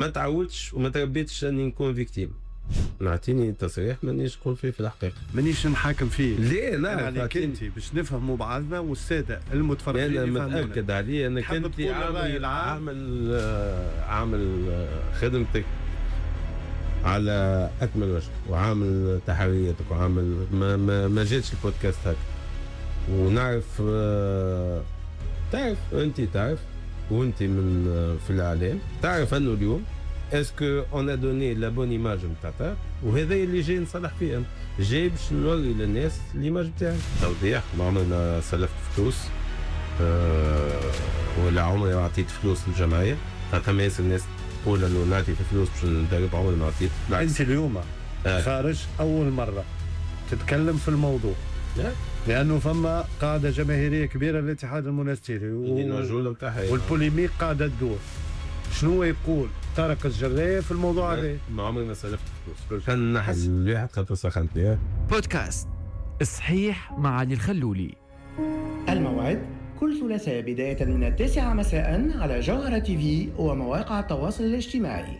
ما تعودش وما تربيتش اني نكون victime. نعطيني تصريح مانيش نقول فيه في الحقيقه. مانيش نحاكم فيه. ليه؟ انا لا. عليك انت باش نفهموا بعضنا والسادة المتفرجين انا يفهمونا. متاكد عليه انك تحب انت تقول الرأي عامل العام؟ عامل خدمتك على اكمل وجه وعامل تحرياتك وعامل ما جاتش البودكاست هكا ونعرف تعرف انت، تعرف وانت من في الاعلام، تعرف انه اليوم est-ce que on a donné la bonne image نتاع، وهذا اللي جاي نصلح فيه أنا. جاي باش نوري للناس l'image نتاعي. توضيح، ما عمرنا سلفت فلوس ولا عمري ما عطيت فلوس للجمعيه، خاطر ما ياسر الناس تقول انه نعطي في فلوس باش ندرب، عمري ما عطيت، بالعكس. انت اليوم خارج اول مرة تتكلم في الموضوع لا. لانه فما قاعدة جماهيرية كبيرة للاتحاد المنستيري اللي نوجهوا لهم تحية. وال polémique قاعدة تدور، شنو يقول طارق الجرايه في الموضوع هذا؟ ما عمري ما سلفت فلوس. كان نحس الواحد خاطر سخنتني. بودكاست الصحيح مع علي الخلولي. الموعد كل ثلاثاء بداية من 9 مساء على جوهرة تي في ومواقع التواصل الاجتماعي.